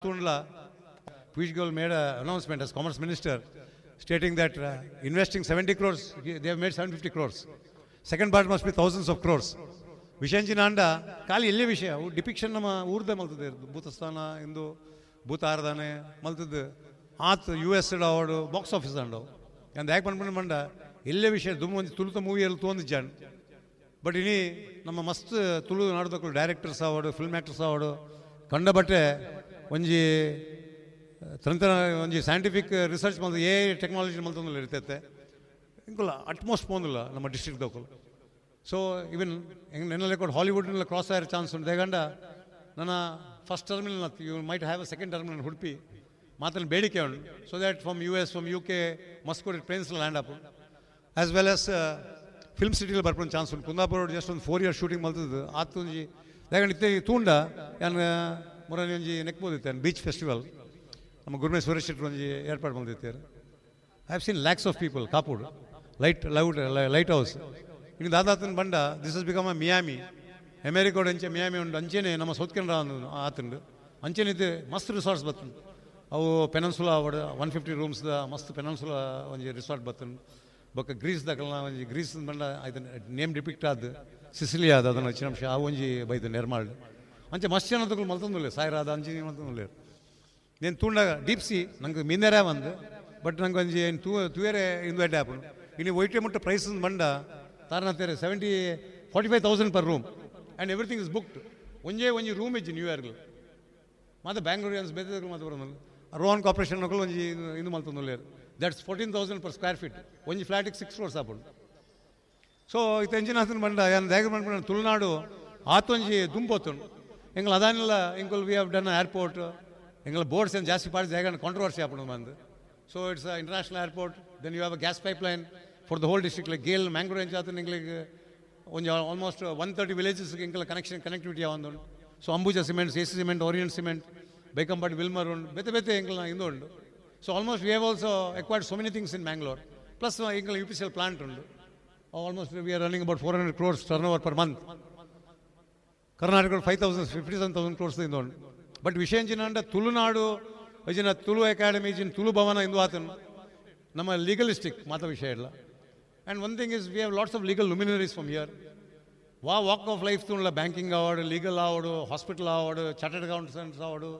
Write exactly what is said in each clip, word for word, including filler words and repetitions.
ತೂಂಡ್ಲ Piyush Goyal made announcement as commerce minister stating that investing seventy crores they have made seven fifty crores second part must be thousands of crores ವಿಷಯ ಅಂಡ ಖಾಲಿ ಎಲ್ಲೇ ವಿಷಯ ಅವು depiction ನಮ್ಮ ಊರ್ದ ಮಲ್ತದೆ ಭೂತಸ್ಥಾನ ಇಂದು ಭೂತ ಆರಾಧನೆ ಮಲ್ತದ್ದು ಆತ್ ಯು ಎಸ್ ಆವಡು ಬಾಕ್ಸ್ ಆಫೀಸ್ ಅಂಡವು ಅಂದ್ ಯಾಕೆ ಪನ್ಪುಂಡ ಪಂಡ ಎಲ್ಲೇ ವಿಷಯ ದುಮ್ಮು ಒಂಜಿ ತುಳುತ ಮೂವಿಯಲ್ಲಿ ತೋಂದಿಜ್ಜಾಂಡ್ ಬಟ್ ಇನಿ ನಮ್ಮ ಮಸ್ತ್ ತುಳು ನಾಡುದಕ್ಕಲು ಡೈರೆಕ್ಟರ್ಸ್ ಆವಡು ಫಿಲ್ಮ್ ಆ್ಯಕ್ಟರ್ಸ್ ಆವಡು ಕಂಡ ಬಟ್ಟೆ ಒಂಜಿ ತಂತ್ರ ಒಂಜಿ ಸೈಂಟಿಫಿಕ್ ರಿಸರ್ಚ್ ಮಲ್ತ ಎ ಟೆಕ್ನಾಲಜಿ ಮಲ್ತೊಂದುಲ್ಲ ಇರ್ತೈತೆ ಇಂಕುಲ ಅಟ್ಮೋಸ್ಟ್ ಪೋಂದಿಲ್ಲ ನಮ್ಮ ಡಿಸ್ಟ್ರಿಕ್ಟ್ ದಕ್ಕಲು ಸೊ ಇವನ್ ನೆನ್ನೆಲ್ಲ ಕೂಡ ಹಾಲಿವುಡ್ನೆಲ್ಲ ಕ್ರಾಸ್ ಆಯೋ ಚಾನ್ಸ್ ಉಂಟು ದೇಗಂಡ ನನ್ನ first terminal you might have a second terminal Udupi ಮಾತಲ್ಲಿ ಬೇಡಿಕೆ ಉಂಟು so that from U S from U K Moscow planes land up as well as film ಸಿಟಿಲಿ ಬರ್ಕೊಂಡು ಚಾನ್ಸ್ ಉಂಟು ಕುಂದಾಪುರ ಜಸ್ಟ್ ಒಂದು ಫೋರ್ ಇಯರ್ ಶೂಟಿಂಗ್ ಮಲ್ತದ್ದು ಆತು ಒಂಜಿ ಯಾಕಂದ್ರೆ ಇತ್ತೆ ತೂಂಡ ಯಾನ್ ಮೊರನಿ ಒಂಜಿ ನೆಕ್ಬೋದಿತ್ತೆ ಬೀಚ್ ಫೆಸ್ಟಿವಲ್ ನಮ್ಮ ಗುರ್ಮೆ ಸುರೇಶ್ ಶೆಟ್ಟರು ಒಂಜಿ ಏರ್ಪಾಡು ಮಲ್ದಿತ್ತಾರೆ I have seen lakhs of people ಕಾಪುಡ್ light loud light house ಇನ್ನು ದಾದಾತನ ಬಂಡ this is become a Miami ಅಮೇರಿಕೋಡ್ ಅಂಚೆ ಮಿಯಾಮಿ ಉಂಟು ಅಂಚೆನೆ ನಮ್ಮ ಸೌತ್ ಕೆನರಾ ಆತುಂಡು ಅಂಚೆನೆ ಇದು ಮಸ್ತ್ ರಿಸಾರ್ಟ್ಸ್ ಬತ್ತುಂಡು ಅವು ಪೆನನ್ಸುಲಾ ಅವಡು ಒನ್ ಫಿಫ್ಟಿ ರೂಮ್ಸ್ದ ಮಸ್ತ್ ಪೆನನ್ಸುಲಾ ಒಂಜಿ ರಿಸಾರ್ಟ್ ಬತ್ತುಂಡು ಬೊಕ್ಕ ಗ್ರೀಸ್ ದಕಲ್ನ ಒಂಜಿ ಗ್ರೀಸ್ ಬಂಡ ಐತ ನೇಮ್ ಡಿಪಿಕ್ಟ್ ಆದ್ ಸಿಸಿಲಿಯಾ ಅದ ಅದನ್ನು ಅಂಶ ಆ ಒಂಜಿ ಬೈದು ನಿರ್ಮಾಣ ಅಂಚೆ ಮಸ್ತ್ ಜನ ತಗೊಳ್ಳು ಮಲ್ತೊಂದುಲ್ಲೆ ಸಾಯಿರಾದ ಅಂಚೆ ಮಲ್ತೊಂದುಲ್ಲೆ నేను ತೂಂಡಾಗ ಡೀಪ್ ಸಿ ನಂಗೆ ಮೀನೇರೇ ಬಂದು ಬಟ್ ನಂಗೆ ಒಂಜಿ ಏನು ತೂ ತೂಯರೆ ಇನ್ವೈಟ್ ಆಪುಂಡು ಇನ್ನು ಒಯ್ಟೆ ಮುಟ್ಟ ಪ್ರೈಸ್ ಬಂಡ ತಾರನತ್ತೇರೆ seventy forty five thousand per room and everything is booked ಒಂಜೇ ಒಂಜಿ ರೂಮ್ ಇಜ್ಜಿ ನ್ಯೂ ಇಯರ್ಗಳು ಮತ್ತೆ ಬ್ಯಾಂಗ್ಳೂರಿಯನ್ಸ್ ಬೇರೆ ಮಾತ್ರ ಬರೋದು ರೋಹನ್ ಕಾರ್ಪೊರೇಷನ್ ಒಂಜಿ ಇಂದು ಮಲ್ತೊಂದುಲ್ಲೇರು that's fourteen thousand per square feet ಒಂಜಿ ಫ್ಲಾಟಿಗೆ ಸಿಕ್ಸ್ ಕ್ರೋರ್ಸ್ ಆಪುಂಡು ಸೊ ಇತ್ತ ಎಂಜಿನ ಆತನ ಬಂಡ ಯಾನ್ ದಾಯೆ ಪನ್ಪುಂಡ ತುಳುನಾಡು ಆತೊಂಜಿ ದುಂಪೊತ್ತುಂಡು ಎಂಗ್ಲ ಅದಾನಿಲ್ಲ ಎಂಕುಲ್ we have done airport ಎಂಗ್ಲ ಬೋರ್ಡ್ಸ್ ಏನು ಜಾಸ್ತಿ ಪಾಡಿ ಜಾಗ ಕಾಂಟ್ರವರ್ಸಿ ಆಪುಂಡು ಬಂದು so it's international airport then you have a gas pipeline for the whole district like GAIL Mangalore ಎಂಚ ಆತನ ಎಂಗ್ಲಿಗೆ ಒಂಜಿ ಆಲ್ಮೋಸ್ಟ್ ಒನ್ ತರ್ಟಿ ವಿಲೇಜಸ್ ಎಂಕಲ ಕನೆಕ್ಷನ್ ಕನೆಕ್ಟಿವಿಟಿ ಆವೊಂದುಂಡು so Ambuja cements A C cement orient cement Baikampady Wilmar ಉಂಡು ಬೇತೆ ಬೇತೆ ಎಂಕಲ್ನ ಇಂದು ಉಂಡು so almost we have also acquired so many things in Mangalore plus ಎಂಕಲ್ U P C L plant ಉಂಡು almost we are running about four hundred crores turnover per month Karnataka five thousand fifty seven thousand crores ಇಂದ ಉಂಡು but ವಿಷಯ ಎಂಚಿನ ಅಂಡ Tulunadu ಇಜಿನ Tulu academy ಇಜಿನ Tulu ಭವನ ಇಂದು ಆತನು ನಮ್ಮ ಲೀಗಲಿಸ್ಟಿಕ್ ಮಾತ ವಿಷಯ ಇಲ್ಲ and one thing is we have lots of legal luminaries from here ವಾ ವಾಕ್ ಆಫ್ ಲೈಫ್ ತೂಂಡ್ಲ ಬ್ಯಾಂಕಿಂಗ್ ಆವಡು ಲೀಗಲ್ ಆವಡು ಹಾಸ್ಪಿಟಲ್ ಆವಡು ಚಾರ್ಟರ್ಡ್ ಅಕೌಂಟೆಂಟ್ಸ್ ಆವಡು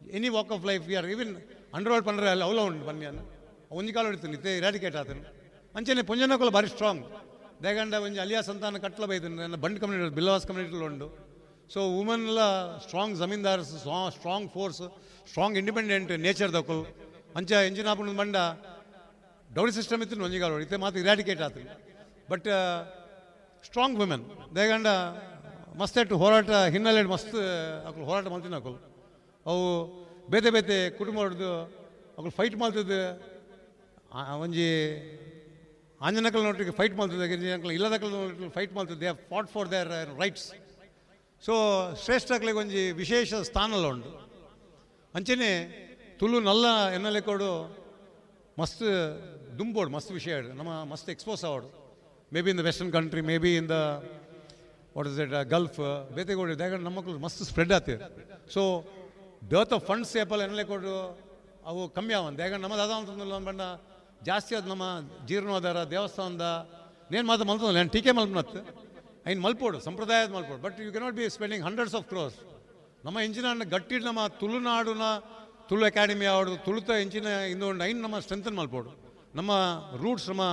any walk of life we are even underworld ಪಂಡ್ರೆ ಅಲ್ಲಿ ಅವಲ ಉಂಟು ಬನ್ನಿ ಅನ್ನ ಒಂಜಿ ಕಾಲ ಇಡ್ತೀನಿ ಇತ್ತೆ ಇರಾಡಿಕೇಟ್ ಆತನು ಅಂಚನೆ ಪೊಂಜನಕುಲ ಭಾರಿ ಸ್ಟ್ರಾಂಗ್ ದೇಗಂಡ ಒಂಜಿ ಅಲಿಯಾ ಸಂತಾನ ಕಟ್ಲ ಬೈದು ನನ್ನ ಬಂಡ್ ಕಮ್ಯುನಿಟಿ ಬಿಲ್ಲವಾಸ್ ಕಮ್ಯುನಿಟಿ ಉಂಡು ಸೊ ವುಮನ್ಲ strong zamindars strong force strong independent nature ದಕ್ಕಲು ಅಂಚ ಎಂಜಿನ ಆಪುಂಡು ಬಂಡ ಡೌರಿ ಸಿಸ್ಟಮ್ ಇತ್ತು ಒಂಜಿ ಕಾಲ ಇತ್ತೆ ಮಾತ್ರ ಇರಾಡಿಕೇಟ್ ಆತು ಬಟ್ ಸ್ಟ್ರಾಂಗ್ ವುಮೆನ್ ದೇಗಂಡ ಮಸ್ತ್ ಎಟ್ಟು ಹೋರಾಟ ಹಿನ್ನೆಲೆ ಮಸ್ತ್ ಅಕುಲು ಹೋರಾಟ ಮಲ್ತಿನ ಅಕುಲು ಅವು ಬೇತೆ ಬೇತೆ ಕುಟುಂಬ ಅಕುಲು ಫೈಟ್ ಮಲ್ತದ್ದು ಒಂಜಿ ಆಂಜನಕಲ್ನೊಟ್ಟಿಗೆ ಫೈಟ್ ಮಲ್ತದೆ ಇಲ್ಲದಕಲ್ನೊಟ್ಟಿಗೆ ಫೈಟ್ ಮಲ್ತದೆ they fought for their rights so ಶ್ರೇಷ್ಠಕ್ಲಿಗೆ ಒಂಜಿ ವಿಶೇಷ ಸ್ಥಾನಲ ಉಂಟು ಅಂಚೆನೆ ತುಳು ನಲ್ಲ ಎನ್ನಲೆ ಕೊಡು ಮಸ್ತ್ ದುಂಬೋಡು ಮಸ್ತ್ ವಿಷಯ ನಮ್ಮ ಮಸ್ತ್ expose ಆವಡು maybe in the western country maybe in the what is it Gulf ಬೇತೆಗೋಡು ದಾಗಂಡ ನಮ್ಮ ಮಕ್ಕಳು ಮಸ್ತ್ ಸ್ಪ್ರೆಡ್ ಆತಿರ್ ಸೊ ಡರ್ತ್ ಆಫ್ ಫಂಡ್ಸ್ ಏಪಲ್ ಎನ್ನಲೆ ಕೊಡು ಅವು ಕಮ್ಮಿ ಆವಂತ ಯಾಕಂದ್ರೆ ನಮ್ಮ ದಾದ ಅಂತಂದ್ರೆ ಬಣ್ಣ ಜಾಸ್ತಿ ಅದು ನಮ್ಮ ಜೀರ್ಣೋದ್ಧಾರ ದೇವಸ್ಥಾನದ ನೇನು ಮಾತ್ರ ಮಲ್ತೊಂದಿಲ್ಲ ನಾನು ಟೀಕೆ ಮಲ್ಪನತ್ತು ಐನ್ ಮಲ್ಪೋಡು ಸಂಪ್ರದಾಯದ ಮಲ್ಪೋಡು but you cannot be spending hundreds of crores ನಮ್ಮ ಇಂಜಿನ ಗಟ್ಟಿ ನಮ್ಮ ತುಳುನಾಡುನ ತುಳು ಅಕಾಡೆಮಿ ಆವಡು ತುಳುತ ಇಂಚಿನ ಇಂದು ಐನ್ ನಮ್ಮ ಸ್ಟ್ರೆಂಥನ್ ಮಲ್ಪೋಡು ನಮ್ಮ ರೂಟ್ಸ್ ನಮ್ಮ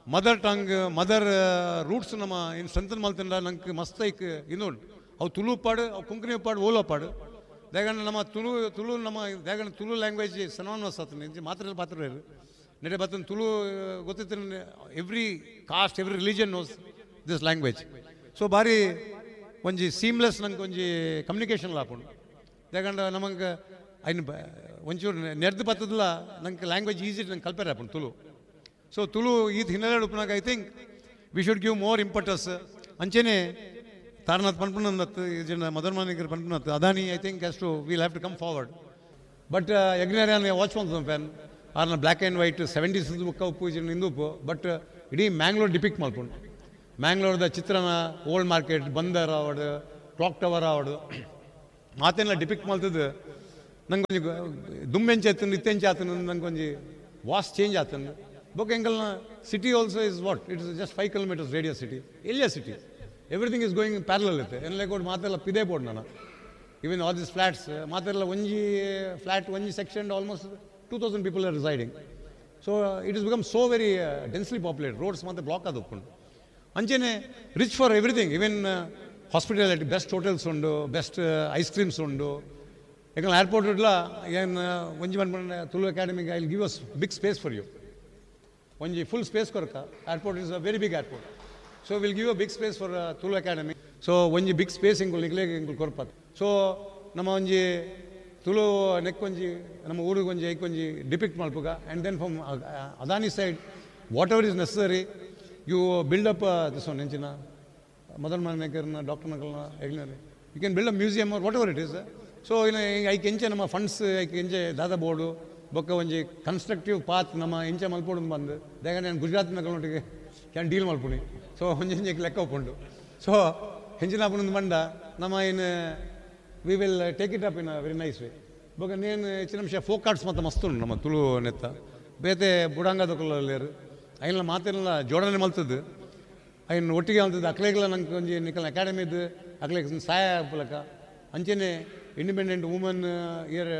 ಮದರ್ ಟಂಗ್ ಮದರ್ ರೂಟ್ಸ್ ನಮ್ಮ ಇನ್ನು ಸ್ಟ್ರೆಂಥನ್ ಮಲ್ತಂಡ ನಂಗೆ ಮಸ್ತ್ ಐಕ್ ಇನ್ನುಂಡು ಅವು ತುಳು ಪಾಡು ಅವು ಕೊಂಕಣಿ ಪಾಡು ಓಲೋ ಪಾಡು ದೇಗಂಡ ನಮ್ಮ ತುಳು ತುಳು ನಮ್ಮ ದೇಗಂಡ ತುಳು ಲ್ಯಾಂಗ್ವೇಜ್ ಸಿನಾನಿಮಸ್ ಆತನ ಇಂಚ ಮಾತ್ರ ಪಾತ್ರ ನೆಡೆ ಬತ್ತನ ತುಳು ಗೊತ್ತಿತ್ತು every caste every religion knows this language so ಭಾರಿ ಒಂಜಿ ಸೀಮ್ಲೆಸ್ ನಂಗೆ ಒಂಜಿ ಕಮ್ಯುನಿಕೇಷನ್ ಆಪುಂಡು ದೇಗಂಡ ನಮಗೆ ಐನ್ ಒಂಚೂರು ನೆರ್ದು ಬತ್ತದಲ್ಲ ನಂಗೆ ಲ್ಯಾಂಗ್ವೇಜ್ ಈಸಿ ನಂಗೆ ಕಲ್ಪೇರ್ ಆಪುಂಡು ತುಳು ಸೊ ತುಳು ಈತ್ ಹಿನ್ನೆಲೆ ಉಪ್ಪುನಾಗ I think we should give more impetus ಅಂಚೆನೆ ತಾರನಾಥ್ ಪನ್ಪುನಂದತ್ತು ಜನ ಮದನ್ ಮಾಣಿಕರ್ ಪನ್ಪುನತ್ತು Adani I think has to will have to come forward but ಯಜ್ಞಾರ್ಯಾನ್ watch ಮಲ್ತದ ಫ್ಯಾನ್ ಆರ್ನ ಬ್ಲ್ಯಾಕ್ ಆ್ಯಂಡ್ ವೈಟ್ ಸೆವೆಂಟೀಸ್ ಬುಕ್ಕ ಉಪ್ಪು ಇಂದು ಉಪ್ಪು ಬಟ್ ಇಡೀ ಮ್ಯಾಂಗ್ಳೂರ್ ಡಿಪಿಕ್ಟ್ ಮಲ್ಪುಂಡು ಮ್ಯಾಂಗ್ಳೂರ್ದ ಚಿತ್ರನ ಓಲ್ಡ್ ಮಾರ್ಕೆಟ್ ಬಂದರ್ ಆವಡು ಕ್ಲಾಕ್ ಟವರ್ ಆವಡು ಮಾತೆಲ್ಲ ಡಿಪಿಕ್ಟ್ ಮಲ್ತದ್ದು ನಂಗೆ ಒಂಜಿ ದುಂಬೆಂಚ ಆತುಂಡು ಇತ್ತೆಂಚ ಆತುಂಡು ನಂಗೆ ಒಂಜಿ ವಾಸ್ಟ್ ಚೇಂಜ್ ಆತುಂಡು. ಬೊಕ್ಕ ಎಂಕಲ್ನ city also is what it is just five kilometres radius city, ಎಲ್ಲಿಯ city, everything is going parallel ಇತ್ತೆ. ಎನ್ಲೆ ಕೊಡು ಮಾತೆಲ್ಲ ಪಿದೇ ಬೋಡು ನಾನು. ಈವನ್ ಆಲ್ this flats ಮಾತೆಲ್ಲ ಒಂಜಿ ಫ್ಲಾಟ್ ಒಂಜಿ section almost two thousand people are residing. So it is become so very densely populated, roads ಮಾತ್ರ ಬ್ಲಾಕ್ ಆದ್ ಉಪ್ಪುಂಡು. ಅಂಚೆನೆ rich for everything, even hospitality, best hotels ಉಂಡು, ಬೆಸ್ಟ್ ಐಸ್ ಕ್ರೀಮ್ಸ್ ಉಂಡು. ಯಾಕಂದ್ರೆ ಏರ್ಪೋರ್ಟ್ ಇಡ್ಲ ಏನು ಒಂಜಿ ಮನ್ಪಂಡ ತುಳು ಅಕಾಡೆಮಿಗೆ I will give us big space for you, ಒಂಜಿ ಫುಲ್ ಸ್ಪೇಸ್ ಕೊರಕ. Airport is a very big airport, so will give a big space for Tulu academy. So ಒಂಜಿ ಬಿಗ್ ಸ್ಪೇಸ್ ಇಂಕುಲು ನಿಕ್ಲೇಗ್ ಇಂಕುಲು ಕೊರ್ಪತ್. ಸೊ ನಮ್ಮ ಒಂಜಿ ತುಳು ನೆಕ್ಕೊಂಜಿ ನಮ್ಮ ಊರಿಗೆ ಒಂಜಿ ಐಕೊಂಜಿ depict ಮಲ್ಪುಗ. And then from Adani side whatever is necessary you build up this one ಎಂಚಿನ ಮದನ್ ಮನೇಕರ್ನ doctor ನಕಲ್ನ ಎಗ್ನಲ್ಲಿ you can build a museum or whatever it is. So ಇನ್ನು ಐಕ್ ಎಂಚೆ ನಮ್ಮ ಫಂಡ್ಸ್ ಐಕ್ ಎಂಚೆ ದಾದ ಬೋರ್ಡು ಬೊಕ್ಕ ಒಂಜಿ ಕನ್ಸ್ಟ್ರಕ್ಟಿವ್ ಪಾತ್ ನಮ್ಮ ಎಂಚೆ ಮಲ್ಪೊಡು ಬಂದು ದಾಯೆ ನಾನು ಗುಜರಾತ್ ನಕಲ್ನೊಟ್ಟಿಗೆ can deal ಮಲ್ಪುನಿ. ಸೊ ಒಂಜಿ ಲೆಕ್ಕ ಒಪ್ಪುಂಡು. ಸೊ ಹೆಂಚಿನ ಆಪುನೊಂದು ಬಂಡ ನಮ್ಮ ಏನು we will take it up in a very nice way. ಬೊಕ್ಕ ನೇನು ಹೆಚ್ಚಿನ ಅಂಶ ಫೋಕ್ ಆರ್ಟ್ಸ್ ಮತ್ತು ಮಸ್ತ್ ಉಂಡು ನಮ್ಮ ತುಳು ನೆತ್ತ ಬೇತೆ ಬುಡಾಂಗದಕುಲಲ್ಲೇರು ಐನ್ಲ ಮಾತೆಲ್ಲ ಜೋಡಣೆ ಮಲ್ತದ್ದು ಐನ್ ಒಟ್ಟಿಗೆ ಮಲ್ತದ್ದು ಅಕ್ಲೇಗ್ಲ ನಂಗೆ ಒಂಜಿ ನಿಕಲ್ನ ಅಕಾಡೆಮಿದು ಅಕ್ಲೇಗ್ ಸಹಾಯ ಆಪುಲಕ. ಅಂಚೆನೆ independent woman year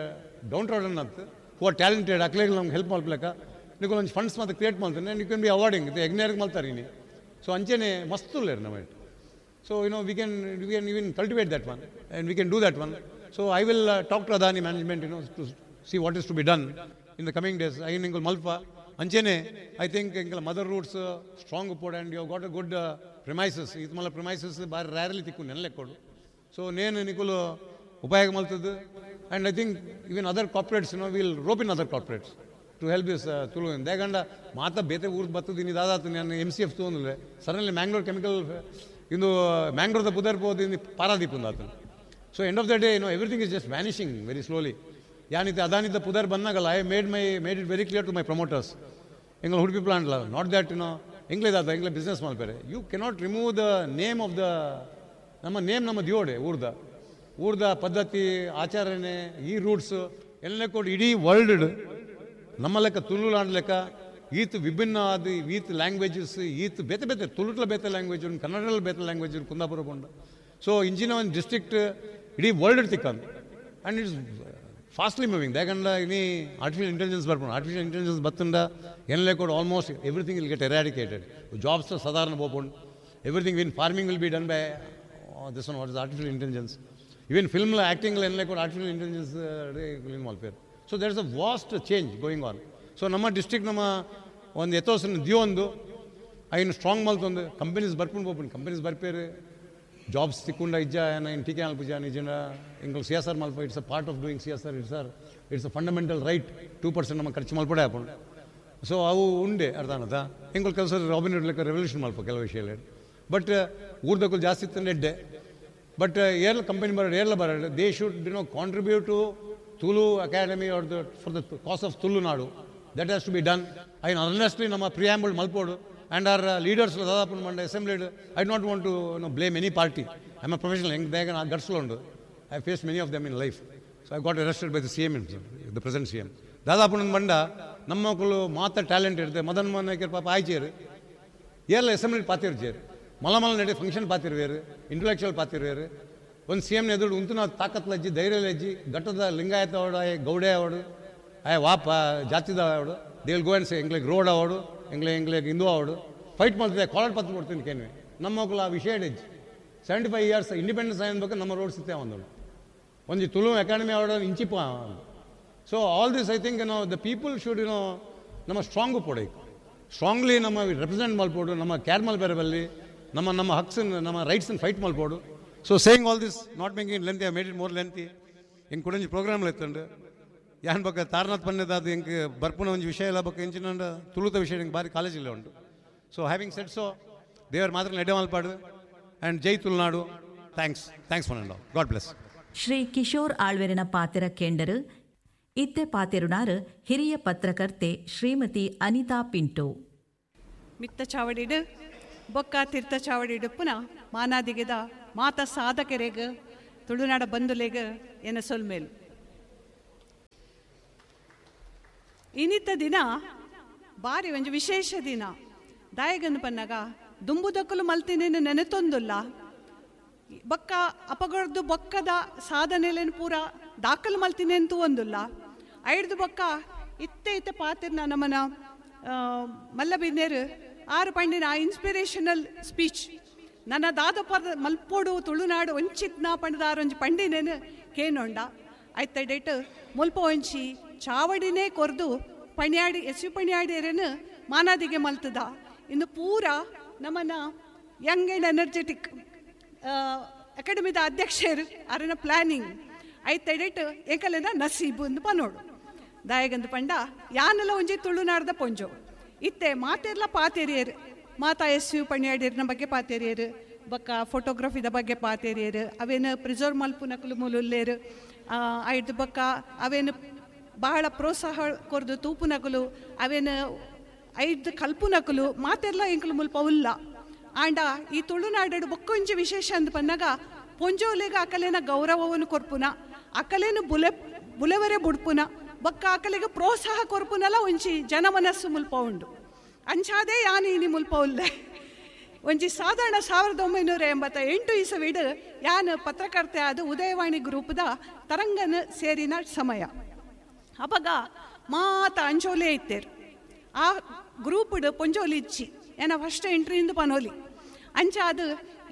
down trodden ಅಂತ who are talented ಅಕ್ಲೇಗ್ಲ ನಮ್ಗೆ ಹೆಲ್ಪ್ ಮಲ್ಪಲಕ ನಿಕಲ್ ಒಂಜಿ ಫಂಡ್ಸ್ ಮಾತ್ರ ಕ್ರಿಯೇಟ್ ಮಾಡ್ತಾನೆ and you can be awarding ಎಗ್ನೇರ್ಗೆ ಮಲ್ತಾರೆ ಇನಿ. ಸೊ ಅಂಚೆನೆ ಮಸ್ತ್ ಉಲ್ಲೇರು ನಮ್ಮ it. So you know we can we can even cultivate that one and we can do that one. So I will talk to Adani management you know to see what is to be done in the coming days. ಐನ್ ಇಂಕಲ್ ಮಲ್ಪ ಅಂಚೆನೆ I think ಎಂಕಲ್ mother roots strong ಉಪ್ಪೋಡು and you got a good premises. ಇದು ಮಲ್ಲ premises ಬಾರಿ ರ್ಯಾರ್ಲಿ ತಿಕ್ಕು ನೆನ್ಲೆಕ್ಕೋಡು. ಸೊ ನೇನು ನಿಕುಲು ಉಪಯೋಗ ಮಲ್ತದ್ದು. And I think even other corporates you know will rope in other corporates to help this Tulu. ದೇಗಂಡ ಮಾತಾ ಬೇತೆ ಊರ್ದು ಬರ್ತದೆ ಇನ್ನು ದಾದಾತು ನಾನು ಎಮ್ ಸಿ ಎಫ್ ತೊಗೊಂಡ್ರೆ ಸಡನ್ಲಿ ಮ್ಯಾಂಗ್ಳೂರ್ ಕೆಮಿಕಲ್ ಇಂದು ಮ್ಯಾಂಗ್ಳೂರ್ದ ಪುದರ್ ಪೋದು ಇಂದು ಪಾರಾದೀಪ್ ಆತನು. So end of the day you know everything is just vanishing very slowly. ಯಾನಿತ್ತೆ ಅದಾನಿದ್ದ ಪುದರ್ ಬಂದಾಗಲ್ಲ I made my made it very clear to my promoters ಎಂಗ್ಲ ಉಡುಪಿ ಪ್ಲಾಂಟ್ಲ not that you know ಎಂಗ್ಲೇದಾದ ಎಂಗ್ಲ ಬಿಸ್ನೆಸ್ ಮಲ್ಪೇರೆ you cannot remove the name of the ನಮ್ಮ name ನಮ್ಮ ದಿಯೋಡೆ ಊರ್ದ ಊರ್ದ ಪದ್ಧತಿ ಆಚರಣೆ ಈ ರೂಟ್ಸ್ ಎಲ್ಲ ಕೊಡು ಇಡೀ ವರ್ಲ್ಡ್ ನಮ್ಮ ಲೆಕ್ಕ ತುಳುನಾಡು ಲೆಕ್ಕ ಈತ್ ವಿಭಿನ್ನ ಆದ ಈತ್ ಲ್ಯಾಂಗ್ವೇಜಸ್ ಈತ್ ಬೇತೆ ಬೇತೆ ತುಳುಟ್ಲ ಬೇತೆ ಲ್ಯಾಂಗ್ವೇಜ್ ಉಂಟು, ಕನ್ನಡದಲ್ಲಿ ಬೇತೆ ಲ್ಯಾಂಗ್ವೇಜ್ ಉಂಟು, ಕುಂದಾಪುರ ಉಂಟು. ಸೊ ಇಂಜಿನ ಒಂದು ಡಿಸ್ಟ್ರಿಕ್ಟ್ ಇಡೀ ವರ್ಲ್ಡ್ ತಿಕ್ಕಂದು ಆ್ಯಂಡ್ it's fastly moving. ಯಾಕಂದ್ರೆ ಇನಿ ಆರ್ಟಿಫಿಷಿಯಲ್ ಇಂಟೆಲಿಜೆನ್ಸ್ ಬರ್ಪುಂಡು, ಆರ್ಟಿಫಿಷಿಯಲ್ ಇಂಟೆಲಿಜೆನ್ಸ್ ಬತ್ತುಂಡ ಎನ್ಲೆ ಕೂಡ almost everything will get eradicated. Jobs ಸಾಧಾರಣ ಪೋಪುಂಡು, everything in farming will be done by this one what is artificial intelligence. Even ಫಿಲ್ಮ್ಲ ಆ್ಯಕ್ಟಿಂಗ್ಲ ಎನ್ಲೆ ಕೂಡ ಆರ್ಟಿಫಿಷಿಯಲ್ ಇಂಟೆಲಿಜೆನ್ಸ್ ಮಲ್ಪೇರು. So there is a vast change going on. So ನಮ್ಮ district ನಮ್ಮ ಒಂದು ಎತ್ತೋಸನ ದಿಯೊಂದು ಐನು strong ಮಲ್ತೊಂದು ಕಂಪನೀಸ್ ಬರ್ಪುಂಡು ಪೋಪುಂಡು ಕಂಪನೀಸ್ ಬರ್ಪೇರು ಜಾಬ್ಸ್ ತಿಕ್ಕೊಂಡ ಇಜ್ಜ ಏನ ಟೀಕೆ ಮಲ್ಪುಜ ನಿಜ ಎಂಕುಲು ಸಿ ಎಸ್ ಆರ್ ಮಲ್ಪ it's a part of doing C S R, it's are it's a fundamental right. Two percent ನಮ್ಮ ಖರ್ಚು ಮಲ್ಪಡೆ ಆಪುಂಡು. ಸೊ ಅವು ಉಂಡೆ ಅರ್ಥ ಅನ್ನದ ಎಂಕುಲು ಕೆಲಸ ರಾಬಿನ್ ಹುಡ್ ಲೆಕ್ಕ ರೆವಲ್ಯೂಷನ್ ಮಲ್ಪ ಕೆಲವು ವಿಷಯ ಬಟ್ ಊರ್ದಕ್ಕೂ ಜಾಸ್ತಿ ಇತ್ತು ಎಡ್ಡೆ. ಬಟ್ ಏರ್ಲ ಕಂಪನಿ ಬರೋಡು ಏರ್ಲ ಬರೋಡು they should you know contribute to Tulu academy or the for the cause of Tulunadu. That has to be done. I honestly ನಮ್ಮ ಪ್ರಿಯಾಂಬಲ್ ಮಲ್ಪೋಡು ಆ್ಯಂಡ್ our leaders ದಾದಾಪು ಮಂಡ assembly. I not want to no blame any party. I am a professional ಹೆಂಗೆ ಬೇಗ ನಾ ಗಟ್ಸ್ಲುಂಡು. I face many of them in life. So I got arrested by the C M the present C M. ದಾದಾಪು ಬಂಡ ನಮ್ಮ ಮಕ್ಕಳು ಮಾತ್ರ talent ಇರುತ್ತೆ. ಮದನ್ ಮೋಹನ್ ನಾಯ್ಕರ್ ಪಾಪ ಆಯ್ಚೇರು ಏರ್ಲ assembly ಪಾತಿರ್ಚೇರು ಮಲ ಮಲ ನಡೆ ಫಂಕ್ಷನ್ ಪಾತಿರ್ವೇರು ಇಂಟೆಲೆಕ್ಚುವಲ್ ಪಾತಿರ್ವೇರು. ಒಂದು ಸಿ ಎಮ್ನ ಎದುರು ಉಂತುನ ತಾಕತ್ಲಜ್ಜಿ ಧೈರ್ಯಲಜ್ಜಿ ಘಟ್ಟದ ಲಿಂಗಾಯತ ಅವಡು ಆಯ್ ಗೌಡೆ ಅವಡು ಆಯ್ ವಾಪ ಜಾತಿದ ಅವಡು they will go and say ಎಂಗ್ಲಿಗೆ road ಅವಡು ಎಂಗ್ಲೆ ಎಂಗ್ಲಿಗೆ ಹಿಂದೂ ಅವಡು ಫೈಟ್ ಮಾಡ್ತಿದ್ದೆ ಕಾಲರ್ ಪತ್ರ ಕೊಡ್ತೀನಿ ಕೇನ್ವೆ. ನಮ್ಮ ಮಕ್ಕಳು ಆ ವಿಷಯ ಹೆಜ್ಜಿ ಸೆವೆಂಟಿ ಫೈವ್ ಇಯರ್ಸ್ ಇಂಡಿಪೆಂಡೆನ್ಸ್ ಆಗಬೇಕು ನಮ್ಮ ರೋಡ್ ಸಿತ್ತೆ ಒಂದು ಒಂದು ತುಳು ಅಕಾಡೆಮಿ ಅವಡು ಇಂಚಿಪ. So all this I think no the people should you know ನಮ್ಮ ಸ್ಟ್ರಾಂಗು ಪೊಡೈಕು ಸ್ಟ್ರಾಂಗ್ಲಿ ನಮ್ಮ ರೆಪ್ರೆಸೆಂಟ್ ಮಲ್ಪೋಡು ನಮ್ಮ ಕೇರ್ ಮಲ್ಪೇರೆ ಬಲ್ಲಿ ನಮ್ಮ ನಮ್ಮ ಹಕ್ಸನ್ನು ನಮ್ಮ ರೈಟ್ಸನ್ನು fight ಮಲ್ಪೋಡು. So saying all this not making lengthy I made it more lengthy. ಎಂಕ್ ಕುಡಂಜಿ ಪ್ರೋಗ್ರಾಮ್లు ಎತ್ತಂಡು ಯಾನ್ ಬೊಕ್ಕ ತಾರನಾಥ್ ಪನ್ನೆದಾದ ಎಂಕ್ ಬರ್ಪುನ ಒಂಜಿ ವಿಷಯ ಇಲ್ಲ ಬೊಕ್ಕ ಎಂಚಿನ ತುಳುತ ವಿಷಯ ಎಂಕ್ ಬಾರಿ ಕಾಲೇಜಿಲ್ಲ ಉಂಟು. ಸೊ ಹ್ಯಾವಿಂಗ್ ಸೆಟ್ ಸೊ ದೇವರ ಮಾತ್ರ ನೆಡೆ ಮಲ್ಪಾಡು and Jai Tulunadu. Thanks thanks for and all. God bless. Shri Kishore ಆಳ್ವೆರನ ಪಾತೆರ ಕೇಂಡರು ಇತ್ತೆ ಪಾತೆರುನಾರು ಹಿರಿಯ ಪತ್ರಕರ್ತೆ ಶ್ರೀಮತಿ ಅನಿತಾ ಪಿಂಟೋ. ಮಿತ್ತ ಚಾವಡಿಡು ಬೊಕ್ಕ ತೀರ್ಥ ಚಾವಡಿಡು ಪುನಃ ಮಾನಾದಿಗೆದ ಮಾತ ಸಾಧಕರೆಗ್ ತುಳುನಾಡ ಬಂಧುಲೆಗ್ ಎನ ಸೊಲ್ಮೇಲು. ಇನ್ನಿತ್ತ ದಿನ ಬಾರಿ ಒಂಜಿ ವಿಶೇಷ ದಿನ. ದಾಯಗನ್ ಪನ್ನಗ ದುಂಬುದಕ್ಕಲು ಮಲ್ತಿನೇನು ನೆನೆತೊಂದುಲ್ಲ, ಬೊಕ್ಕ ಅಪಗಡ್ದು ಬೊಕ್ಕದ ಸಾಧನೆಲೇನು ಪೂರ ದಾಖಲು ಮಲ್ತಿನೇಂತೂ ಒಂದುಲ್ಲ. ಐಡ್ದು ಬೊಕ್ಕ ಇತ್ತೆ ಇತ್ತೆ ಪಾತಿರ್ನ ನಮ್ಮನ ಮಲ್ಲಬಿನ್ನೇರು ಆರು ಪಂಡಿನ ಆ ಇನ್ಸ್ಪಿರೇಷನಲ್ ಸ್ಪೀಚ್ ನನ್ನ ದಾದ ಪದ ಮಲ್ಪೋಡು ತುಳುನಾಡು ಒಂಚಿತ್ನ ಪಂಡದಾರು ಒಂಜಿ ಪಂಡಿನೇನು ಕೇನೊಂಡ ಐತ ಡೇಟ್ ಮುಲ್ಪ ಒಂಚಿ ಚಾವಡಿನೇ ಕೊರ್ದು ಪಣ್ಯಾಡಿ ಎಸ್ you ಪಣ್ಯಾಡಿಯರೇನು ಮಾನಾದಿಗೆ ಮಲ್ತದ. ಇನ್ನು ಪೂರ ನಮ್ಮನ್ನ ಯಂಗ್ ಆ್ಯಂಡ್ ಎನರ್ಜೆಟಿಕ್ ಅಕಾಡೆಮಿದ ಅಧ್ಯಕ್ಷರು ಅರನ ಪ್ಲ್ಯಾನಿಂಗ್ ಐತ ಡೇಟ್ ಏಕಲೇನ ನಸೀಬು ಅಂದು ಪನೋಡು. ದಾಯಗಂದು ಪಂಡ ಯಾನೆಲ್ಲ ಒಂಜಿ ತುಳುನಾಡ್ದ ಪೊಂಜೋ ಇತ್ತೆ ಮಾತೆರ್ಲ ಪಾತೆರಿಯರು, ಮಾತಾ ಎಸ್ you ಪಣ್ಯಾಡಿಯರ್ನ ಬಗ್ಗೆ ಪಾತೆರಿಯರು, ಬೊಕ್ಕ ಫೋಟೋಗ್ರಫಿದ ಬಗ್ಗೆ ಪಾತೆರಿಯರು, ಅವೇನು ಪ್ರಿಸರ್ವ್ ಮಲ್ಪುನಕುಲು ಮೂಲುಲ್ಲೇರು, ಐದು ಬೊಕ್ಕ ಅವೇನು ಬಹಳ ಪ್ರೋತ್ಸಾಹ ಕೊರ್ದು ತೂಪುನಕುಲು, ಅವೇನು ಐದು ಕಲ್ಪುನಕುಲು ಮಾತೆರ್ಲ ಎಂಕುಲು ಮುಲ್ಪ ಉಲ್ಲ. ಆಂಡ ಈ ತುಳುನಾಡು ಬೊಕ್ಕೊಂಜಿ ವಿಶೇಷ ಅಂದ್ ಪನ್ನಗ ಪೊಂಜೋಲೆಗ ಅಕಲೇನ ಗೌರವವನ್ನು ಕೊರ್ಪುನ, ಅಕಲೇನು ಬುಲೆ ಬುಲೆವರೆ ಬುಡ್ಪುನ, ಬೊಕ್ಕ ಅಕಲೆಗೆ ಪ್ರೋತ್ಸಾಹ ಕೊರ್ಪುನಲ ಒಂಜಿ ಜನಮನಸ್ಸು ಮುಲ್ಪ ಉಂಡು. ಅಂಚಾದೇ ಯಾನು ಇನಿ ಮುಲ್ಪ ಉಲ್ಲೆ. ಒಂಜಿ ಸಾಧಾರಣ ಸಾವಿರದ ಒಂಬೈನೂರ ಎಂಬತ್ತ ಎಂಟು ಇಸವಿಡು ಯಾನು ಪತ್ರಕರ್ತೆ ಆದ ಉದಯವಾಣಿ ಗ್ರೂಪ್ದ ತರಂಗನ ಸೇರಿನ ಸಮಯ. ಅಪಗ ಮಾತ ಅಂಜೋಲೆ ಇತ್ತೇರು ಆ ಗ್ರೂಪ್ಡ್ ಪೊಂಜೋಲಿ ಇಚ್ಚಿ ಏನ ಫಸ್ಟ್ ಎಂಟ್ರಿಯಿಂದ ಪನೋಲಿ. ಅಂಚ ಅದು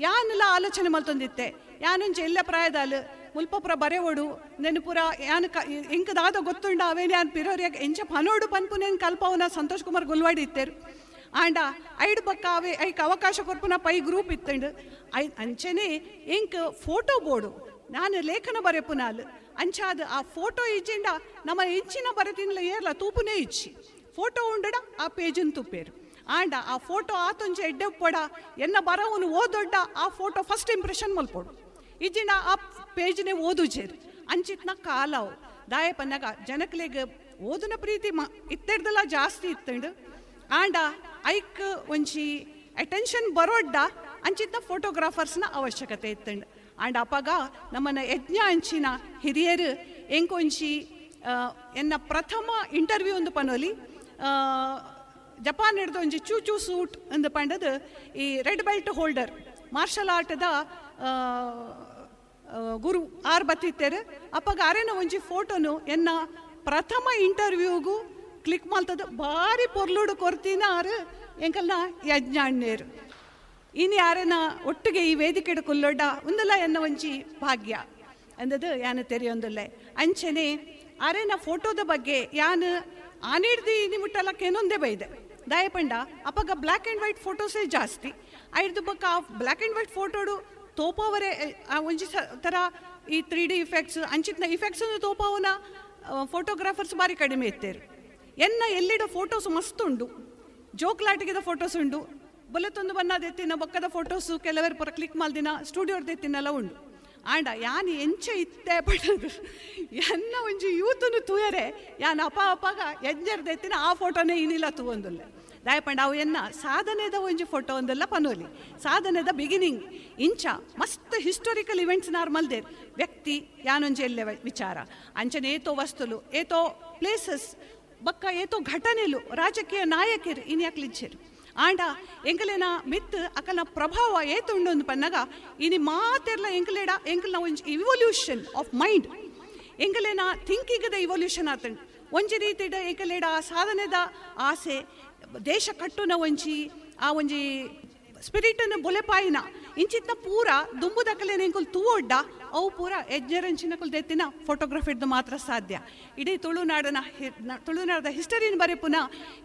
ಯಾನೆಲ್ಲ ಆಲೋಚನೆ ಮಲ್ತೊಂದಿತ್ತೆ, ಯಾನೊಂಜಿ ಎಲ್ಲ ಪ್ರಾಯದಾಲು ಮುಲ್ಪಪುರ ಬರೆವೋಡು ನೆನಪುರ ಯಾನು ಕ ಎಂಕದಾದ ಗೊತ್ತುಂಡ ಅವೇನು ಯಾನು ಪಿರೋರಿಯಾಗ ಎಂಚ ಪನೋಡು ಪನ್ಪುನೇನು ಕಲ್ಪವನ ಸಂತೋಷ್ ಕುಮಾರ್ ಗುಲ್ವಾಡಿ ಇತ್ತೇರು. ಆಂಡ ಐಡು ಬಕ್ಕ ಅವೇ ಐಕ್ ಅವಕಾಶ ಕೊರ್ಪುನ ಪೈ ಗ್ರೂಪ್ ಇತ್ತಂಡು. I ಅಂಚೆನೇ ಎಂಕ್ ಫೋಟೋ ಬೋರ್ಡು ನಾನು ಲೇಖನ ಬರೆಪುನಾಲು ಅಂಚಾದ ಆ ಫೋಟೋ ಇಜ್ಜಿಂಡ ನಮ್ಮ ಎಂಚಿನ ಬರೆತಿನ್ಲ ಏರ್ಲ ತೂಪುನೇ ಇಚ್ಚಿ ಫೋಟೋ ಉಂಡಡ ಆ ಪೇಜನ್ ತುಪ್ಪೇರು. ಆಂಡ ಆ ಫೋಟೋ ಆತೊಂಜಿ ಎಡ್ಡೆ ಪೊಡ ಎನ್ನ ಬರವನು ಓದೊಡ್ಡ ಆ ಫೋಟೋ ಫಸ್ಟ್ ಇಂಪ್ರೆಷನ್ ಮಲ್ಪೋಡು ಇಜ್ಜಿಂಡ ಆ ಪೇಜ್ನೇ ಓದುಜೇರು. ಅಂಚಿತ್ನ ಕಾಲವು ದಾಯ ಪನ್ನಗ ಜನಕ್ಲೆಗ್ ಓದುನ ಪ್ರೀತಿ ಮ ಇತ್ತೆಡ್ದಲ್ಲ ಜಾಸ್ತಿ ಇತ್ತಂಡು. ಆಂಡ ಐಕ್ ಒಂಜಿ ಅಟೆನ್ಷನ್ ಬರೋಡ್ಡ ಅಂಚಿತ್ನ ಫೋಟೋಗ್ರಾಫರ್ಸ್ನ ಅವಶ್ಯಕತೆ ಇತ್ತಂಡು. ಆಂಡ ಅಪಗ ನಮ್ಮನ್ನ ಯಜ್ಞ ಅಂಚಿನ ಹಿರಿಯರು ಎಂಕೊಂಚಿ ಎನ್ನ ಪ್ರಥಮ ಇಂಟರ್ವ್ಯೂ ಒಂದು ಪನೋಲಿ ಜಪಾನ್ ಹಿಡ್ದು ಒಂಜಿ ಚೂ ಚೂ ಸೂಟ್ ಅಂದು ಪಂಡದು ಈ ರೆಡ್ ಬೆಲ್ಟ್ ಹೋಲ್ಡರ್ ಮಾರ್ಷಲ್ ಆರ್ಟ್ದ ಗುರು ಆರ್ ಬತ್ತಿತ್ತೇರು. ಅಪ್ಪಗ ಅರೇನ ಒಂಜಿ ಫೋಟೋನು ಎನ್ನ ಪ್ರಥಮ ಇಂಟರ್ವ್ಯೂಗು ಕ್ಲಿಕ್ ಮಲ್ತದ ಭಾರಿ ಪೊರ್ಲುಡು ಕೊರ್ತಿನ ಆರು ಎಂಕಲ್ನ ಯಜ್ಞಾಣ್ಣೇರು. ಇನ್ನು ಯಾರೇನ ಒಟ್ಟಿಗೆ ಈ ವೇದಿಕೆಡು ಕುಲ್ಲೊಡ್ಡ ಒಂದಲ್ಲ ಎನ್ನ ಒಂಜಿ ಭಾಗ್ಯ ಅಂದದು ಯಾನು ತೆರೆಯೊಂದುಲ್ಲೆ. ಅಂಚೆನೆ ಅರೇನ ಫೋಟೋದ ಬಗ್ಗೆ ಯಾನು ಆನಿಡ್ದು ನಿಮುಟ್ಟಲಕ್ಕೇನೊಂದೇ ಬೈದೆ ದಾಯಪಂಡ ಅಪ್ಪಗ ಬ್ಲ್ಯಾಕ್ ಆ್ಯಂಡ್ ವೈಟ್ ಫೋಟೋಸೇ ಜಾಸ್ತಿ. ಐಡ್ದು ಬೊಕ್ಕ ಆ ಬ್ಲ್ಯಾಕ್ ಆ್ಯಂಡ್ ವೈಟ್ ಫೋಟೋಡು ತೋಪವರೇ ಆ ಒಂಜಿ ಥರ ಈ ತ್ರೀ ಡಿ ಇಫೆಕ್ಟ್ಸ್ ಅಂಚಿತ್ನ ಇಫೆಕ್ಟ್ಸನ್ನು ತೋಪವನ ಫೋಟೋಗ್ರಾಫರ್ಸ್ ಭಾರಿ ಕಡಿಮೆ ಇತ್ತೇರು. ಎನ್ನ ಎಲ್ಲಿಡ ಫೋಟೋಸ್ ಮಸ್ತ್ ಉಂಡು, ಜೋಕ್ಲಾಟಿಗೆದ ಫೋಟೋಸ್ ಉಂಡು, ಬೊಲೆತೊಂದು ಬನ್ನದೆತ್ತಿನ ಬೊಕ್ಕದ ಫೋಟೋಸು ಕೆಲವರು ಪುರ ಕ್ಲಿಕ್ ಮಲ್ದಿನ ಸ್ಟುಡಿಯೋರ್ದೆತ್ತಿನೆಲ್ಲ ಉಂಡು. ಆಂಡ ಯಾನ್ ಎಂಚ ಇತ್ತೆ ಪಡೋದು ಎನ್ನ ಒಂಜಿ ಯೂತನು ತೂಯರೆ ಯಾನ್ ಅಪ ಅಪಾಗ ಎಂಜರ್ದೆತ್ತಿನ ಆ ಫೋಟೋನೇ ಇನ್ನಿಲ್ಲ ತೂವೊಂದುಲ್ಲ. ದಾಯಪಂಡ ಅವು ಎನ್ನ ಸಾಧನೆದ ಒಂಜಿ ಫೋಟೋ ಒಂದೆಲ್ಲ ಪನೋಲಿ ಸಾಧನೆದ ಬಿಗಿನಿಂಗ್ ಇಂಚ ಮಸ್ತ್ ಹಿಸ್ಟೋರಿಕಲ್ ಇವೆಂಟ್ಸ್ ನಾರ್ಮಲ್ದೇರ್ ವ್ಯಕ್ತಿ ಯಾನೊಂಜಿ ಎಲ್ಲೆ ವಿಚಾರ ಅಂಚನೆ ಏತೋ ವಸ್ತುಲು ಏತೋ ಪ್ಲೇಸಸ್ ಬಕ್ಕ ಏತೋ ಘಟನೆಲು ರಾಜಕೀಯ ನಾಯಕರು ಇನ್ಯಾಕ್ಲಿಚ್ಚೇರು. ಆಂಡ ಎಂಕಲೇನ ಮಿತ್ ಅಕಲ್ನ ಪ್ರಭಾವ ಏತುಂಡು ಅಂದ್ ಪನ್ನಗ ಇನಿ ಮಾತೆರ್ಲ ಎಂಕಲೇಡ ಎಂಕಲ್ನ ಒಂಜಿ ಇವೊಲ್ಯೂಷನ್ ಆಫ್ ಮೈಂಡ್ ಎಂಕಲೇನ ಥಿಂಕಿಂಗ್ದ ಇವೊಲ್ಯೂಷನ್ ಆತಂಡು. ಒಂಜಿ ರೀತಿಡ ಎಂಕಲೇಡ ಆ ಸಾಧನೆದ ಆಸೆ ದೇಶ ಕಟ್ಟುನ ಒಂಜಿ ಆ ಒಂಜಿ ಸ್ಪಿರಿಟನ್ನು ಬೊಲೆಪಾಯಿನ ಇಂಚಿತ್ನ ಪೂರ ದುಂಬುದಕಲೇನ ಎಂಕುಲು ತೂವೊಡ್ಡ ಅವು ಪೂರ ಯಜ್ಞರಂಚಿನಕುಲು ದೆತ್ತಿನ ಫೋಟೋಗ್ರಫಿಡ್ದು ಮಾತ್ರ ಸಾಧ್ಯ. ಇಡೀ ತುಳುನಾಡನ ತುಳುನಾಡದ ಹಿಸ್ಟರಿನ ಬರೆಪುನ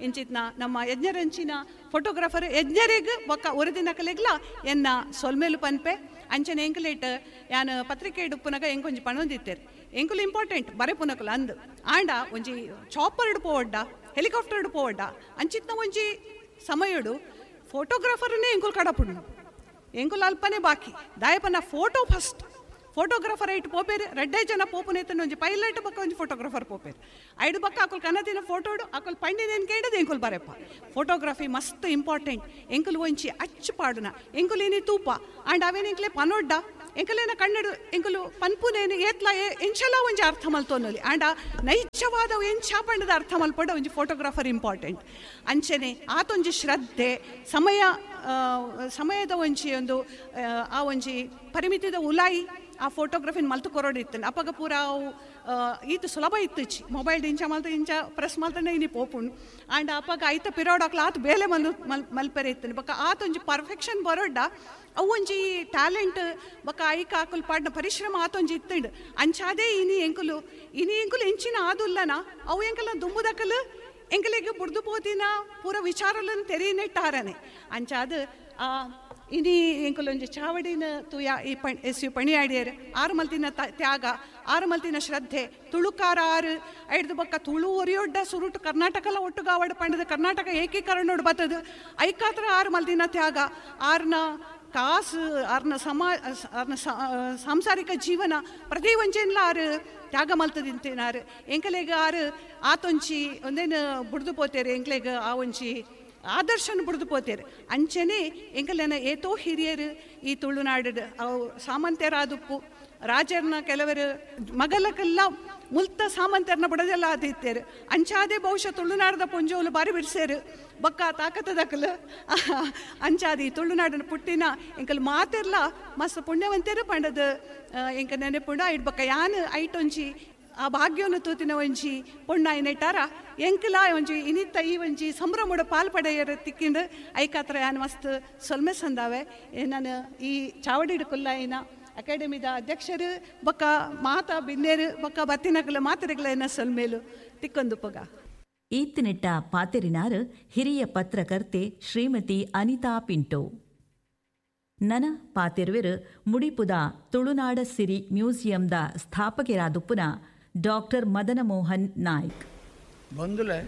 ಇಂಚಿತ್ನ ನಮ್ಮ ಯಜ್ಞರಂಚಿನ ಫೋಟೋಗ್ರಾಫರ್ ಯಜ್ಞರಿಗ್ ಬೊಕ್ಕ ಒರಿದಿನಕಲೆಗ್ಲ ಎನ್ನ ಸೊಲ್ಮೇಲು ಪನ್ಪೆ. ಅಂಚನೆ ಎಂಕುಲೇಟ್ ಯಾನ್ ಪತ್ರಿಕೆ ಇಡುಪ್ಪುನಗ ಎಂಕೊಂಜಿ ಪಣೊಂದಿತ್ತೇರು ಎಂಕುಲು ಇಂಪಾರ್ಟೆಂಟ್ ಬರೆಪುನಕುಲು ಅಂದ್ ಆಂಡ ಒಂಜಿ ಚಾಪರ್ ಪೋವಡ್ಡ ಹೆಲಿಕಾಪ್ಟರ್ ಪೋವಡ್ಡ ಅಂಚಿತ್ನ ಒಂಜಿ ಸಮಯಡು ಫೋಟೋಗ್ರಾಫರ್ನೇ ಎಂಕುಲು ಕಡಪುಂಡು ಎಂಕುಲು ಅಲ್ಪನೇ ಬಾಕಿ ದಾಯಪನ ಫೋಟೋ ಫಸ್ಟ್ ಫೋಟೋಗ್ರಾಫರ್ ಐಟ್ ಪೋಪೇರು ರಡ್ಡೇ ಜನ ಪೋಪುನೇತನ ಒಂಜಿ ಪೈಲಟ್ ಬೊಕ್ಕ ಒಂಜಿ ಫೋಟೋಗ್ರಾಫರ್ ಪೋಪೇರು ಐಡು ಬೊಕ್ಕ ಅಕುಲು ಕನದಿನ ಫೋಟೋಡು ಅಕುಲು ಪಂಡಿನೇನು ಕೇಳದು ಎಂಕುಲು ಬರೆಪ್ಪ. ಫೋಟೋಗ್ರಫಿ ಮಸ್ತ್ ಇಂಪಾರ್ಟೆಂಟ್ ಎಂಕುಲು ಒಂಜಿ ಅಚ್ಚು ಪಾಡುನ ಎಂಕುಲು ಏನಿ ತೂಪ ಆಂಡ್ ಅವೇನು ಎಂಕ್ಲೆ ಪನೊಡ್ಡ ಎಂಕಲೇನ ಕನ್ನಡ ಎಂಕಲು ಪನ್ಪುನೇನು ಏತ್ಲ ಎಂಚಲ ಒಂಜಿ ಅರ್ಥ ಮಲ್ತೊನ್ನೊಲಿ ಆಂಡ ನೈಜವಾದ ಎಂಚ ಪಂಡದ ಅರ್ಥ ಮಲ್ಪಡ ಒಂಜಿ ಫೋಟೋಗ್ರಾಫರ್ ಇಂಪಾರ್ಟೆಂಟ್. ಅಂಚನೆ ಆತೊಂಜಿ ಶ್ರದ್ಧೆ ಸಮಯ ಸಮಯದ ಒಂಜಿ ಒಂದು ಆ ಒಂಜಿ ಪರಿಮಿತಿದ ಉಲಾಯಿ ಆ ಫೋಟೋಗ್ರಫಿನ ಮಲ್ತು ಕೊರೊಡಿತ್ತು. ಅಪಗ ಪೂರ ಅವು ಈತ ಸುಲಭ ಇತ್ತುಚಿ ಮೊಬೈಲ್ ಇಂಚ ಮಲ್ತ ಇಂಚ ಪ್ರೆಸ್ ಮಲ್ತನೆ ಇನಿ ಪೋಪುಂಡು. ಆಂಡ್ ಅಪಗ ಐತ ಪಿರೋಡಾಕ್ಲ ಆತ ಬೇಲೆ ಮಲ್ ಮಲ್ ಮಲ್ಪೆರೆ ಇತ್ತು. ಬೊಕ್ಕ ಆತೊಂಜಿ ಪರ್ಫೆಕ್ಷನ್ ಬರೋಡ್ಡ ಅವು ಒಂಜಿ ಟ್ಯಾಲೆಂಟ್ ಬೊಕ್ಕ ಐಕ ಆಕುಲು ಪಾಡ್ನ ಪರಿಶ್ರಮ ಆತೊಂಜಿ ಇತ್ತುಂಡು. ಅಂಚಾದೇ ಇನಿ ಎಂಕುಲು ಇನಿ ಎಂಕುಲು ಎಂಚಿನ ಆದುಲ್ಲನ ಅವು ಎಂಕಲ ದುಂಬುದಕಲು ಎಂಕಲಿಗೆ ಬುಡ್ದು ಪೋತಿನ ಪೂರ ವಿಚಾರలను ತೆರೀನೆಟ್ಟಾರನೆ. ಅಂಚಾದ ಇನಿ ಎಂಕುಲೊಂಜಿ ಚಾವಡಿನ ತೂಯ ಈ ಪಣ್ ಎಸ್ ಯು ಪಣಿಯಾಡಿಯರು ಆರು ಮಲ್ತಿನ ತ್ಯಾಗ ಆರು ಮಲ್ತಿನ ಶ್ರದ್ಧೆ ತುಳುಕಾರ ಆರು ಐಡ್ದು ಬೊಕ್ಕ ತುಳು ಒರಿಯೊಡ್ಡ ಸುರುಟು ಕರ್ನಾಟಕಲ ಒಟ್ಟುಗಾವಡು ಪಂಡದ ಕರ್ನಾಟಕ ಏಕೀಕರಣೋಡು ಬತ್ತದು ಐಕಾತ್ರ ಆರು ಮಲ್ತಿನ ತ್ಯಾಗ ಆರ್ನ ಕಾಸು ಆರ್ನ ಸಮಾ ಆರ್ನ ಸಾಂಸಾರಿಕ ಜೀವನ ಪ್ರತಿ ಒಂಜೇನ್ಲ ಆರು ತ್ಯಾಗ ಮಲ್ತದಿಂತೇನಾರು. ಎಂಕಲೆಗ್ ಆರು ಆತೊಂಚಿ ಒಂದೇನು ಬುಡ್ದು ಪೋತೇರು ಎಂಕ್ಲೆಗ್ ಆ ಒಂಜಿ ಆದರ್ಶನ ಬುಡ್ದು ಪೋತೇರು. ಅಂಚನೆ ಎಂಕಲೆನ ಏತೋ ಹಿರಿಯರು ಈ ತುಳುನಾಡು ಅವು ಸಾಮಂತ್ಯರಾದುಪ್ಪು ರಾಜರ್ನ ಕೆಲವರು ಮಗಲಕ್ಕೆಲ್ಲ ಮುಲ್ತ ಸಾಮಂತ್ಯರ್ನ ಬುಡದೆಲ್ಲ ಆದಿತ್ತೇರು. ಅಂಚಾದೆ ಬಹುಶಃ ತುಳುನಾಡದ ಪೊಂಜೋಲು ಬಾರಿ ಬಿಡ್ಸೇರು ಬೊಕ್ಕ ತಾಕತ್ತದಕಲು. ಅಂಚಾದಿ ತುಳುನಾಡಿನ ಪುಟ್ಟಿನ ಎಂಕಲ್ ಮಾತೆರ್ಲ ಮಸ್ತ್ ಪುಣ್ಯವಂತೇರು ಪಂಡದು ಎಂಕ ನೆನೆಪುಂಡ. ಇಡ್ ಬೊಕ್ಕ ಯಾನ್ ಐಟೊಂಜಿ ಆ ಭಾಗ್ಯವನ್ನು ತೂತಿನ ಒಂಜಿ ಪೊಣ್ಣಾಯಿ ನೆಟ್ಟಾರ ಎಂಕಲ ಒಂಜಿ ಇನಿತ್ತ ಈ ಒಂಜಿ ಸಂಭ್ರಮದ ಪಾಲ್ ಪಡೆಯರ ತಿಕ್ಕಿಂಡು ಐಕಾತ್ರ ಯಾನ್ ಮಸ್ತ್ ಸೊಲ್ಮೆ ಸಂದಾವೆ. ನಾನು ಈ ಚಾವಡಿಡು ಕುಲ್ಲಾಯಿನ ಅಕಾಡೆಮಿದ ಅಧ್ಯಕ್ಷರು ಬೊಕ್ಕ ಮಾತಾ ಬಿನ್ನೇರು ಬೊಕ್ಕ ಬತ್ತಿನಕಲ ಮಾತರೆಗಳ ಸೊಲ್ಮೇಲು ತಿಕ್ಕೊಂದು ಪೊಗ. ಈತ್ತಿನೆಟ್ಟ ಪಾತೆರಿನಾರು ಹಿರಿಯ ಪತ್ರಕರ್ತೆ ಶ್ರೀಮತಿ ಅನಿತಾ ಪಿಂಟೋ. ನನ ಪಾತೆರುವೆರು ಮುಡಿಪುದ ತುಳುನಾಡ ಸಿರಿ ಮ್ಯೂಸಿಯಂದ ಸ್ಥಾಪಕರಾದುಪ್ಪುನ ಡಾಕ್ಟರ್ ಮದನ ಮೋಹನ್ ನಾಯ್ಕ್. ಬಂದುಲೆ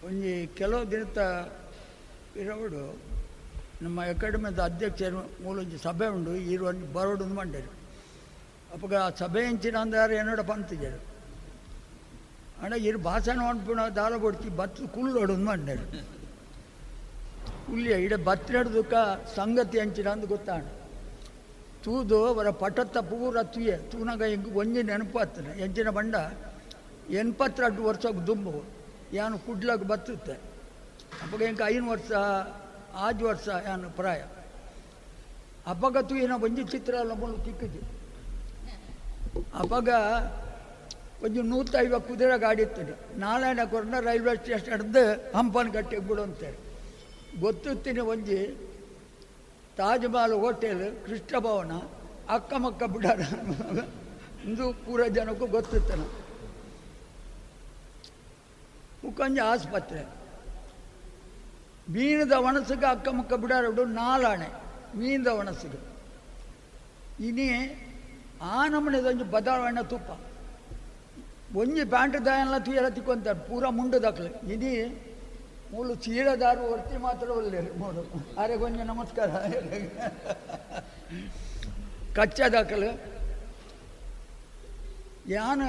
ಒಂಜಿ ಕೆಲವು ದಿನದ ಇರೋಡು ನಮ್ಮ ಅಕಾಡೆಮಿದ ಅಧ್ಯಕ್ಷರು ಮೂಲೊಂಜಿ ಸಭೆ ಉಂಡು ಈರು ಒಂಜಿ ಬರೋಡು ಮಂಡೇರು. ಅಪ್ಪಗ ಆ ಸಭೆ ಎಂಚಿನ ಅಂದಾರು ಏನೋಡ ಪಂತಿಜರು ಅಣ್ಣ ಇರು ಭಾಷಣ ಅನ್ಪುಣ ದಾಲ ಬೊಡ್ಚಿ ಬತ್ತು ಕುಲ್ಲೋಡು ಮಂಡೇರು. ಕುಲ್ಲಿಯ ಇಡ ಬತ್ತಿನಡ್ದುಕ್ಕ ಸಂಗತಿ ಅಂಚಿನ ಅಂದು ಗೊತ್ತಾಣ ತೂದು ಅವರ ಪಟತ್ತ ಪೂರ ತೂಯೆ ತೂನಾಗ ಎಂಕ್ ಒಂಜಿ ನೆನಪಾಗ್ತದೆ. ಎಂಚಿನ ಬಂಡ ಎൺಪತ್ತೆರಡು ವರ್ಷಕ್ಕೆ ದುಂಬು ಯಾನು ಕುಡ್ಲಾಗ ಬತ್ತುತ್ತೆ. ಅಪ್ಪಗ ಎಂಕ ಐನು ವರ್ಷ ಆಜು ವರ್ಷ ಯಾನು ಪ್ರಾಯ. ಅಪ್ಪಗ ತೂಯಿನ ಒಂಜಿ ಚಿತ್ರ ಎಲ್ಲ ಮೂಲು ತಿಕ್ಕಿಜಿ. ಅಪ್ಪಗ ಒಂಜಿ ನೂತೈವ ಕುದುರೆ ಗಾಡಿ ಇತ್ತು. ನಾರಾಯಣ ಕೊರನ ರೈಲ್ವೆ ಸ್ಟೇಷನ್ ಹಿಡ್ದು ಹಂಪನ ಗಟ್ಟಿಗೆ ಬಿಡು ಅಂತೇಳಿ ಗೊತ್ತುತ್ತೀನಿ. ಒಂಜಿ ತಾಜ್ ಮಹಲ್ ಹೋಟೆಲ್ ಕೃಷ್ಣ ಭವನ ಅಕ್ಕಮಕ್ಕ ಬಿಡಾರ ಇಂದು ಪೂರ ಜನಕ್ಕೂ ಗೊತ್ತಿತ್ತನ. ಮುಕ್ಕಂಜ ಆಸ್ಪತ್ರೆ ಮೀನದ ಒಣಸಿಗೆ ಅಕ್ಕಮಕ್ಕ ಬಿಡಾರ ಬಿಡು ನಾಲಾಣೆ ಮೀನದ ಒಣಸಿಗೆ. ಇನಿ ಆ ನಮೂನೆದೊಂಜಿ ಬದಲಾವಣೆ ತುಪ್ಪ ಒಂಜಿ ಪ್ಯಾಂಟ್ ದಾಯನ್ಲ ತುಯಲ ತಿಕ್ಕೊಂತಾರೆ ಪೂರ ಮುಂಡು ದಾಖಲೆ. ಇನಿ ಮೂಲು ಚೀಲದಾರು ವರ್ತಿ ಮಾತ್ರ ಒಳ್ಳೆಯರು ಮೂಲು ಅರೆ ಕೊಂಚ ನಮಸ್ಕಾರ ಕಚ್ಚ ದಾಖಲೆ. ಯಾನು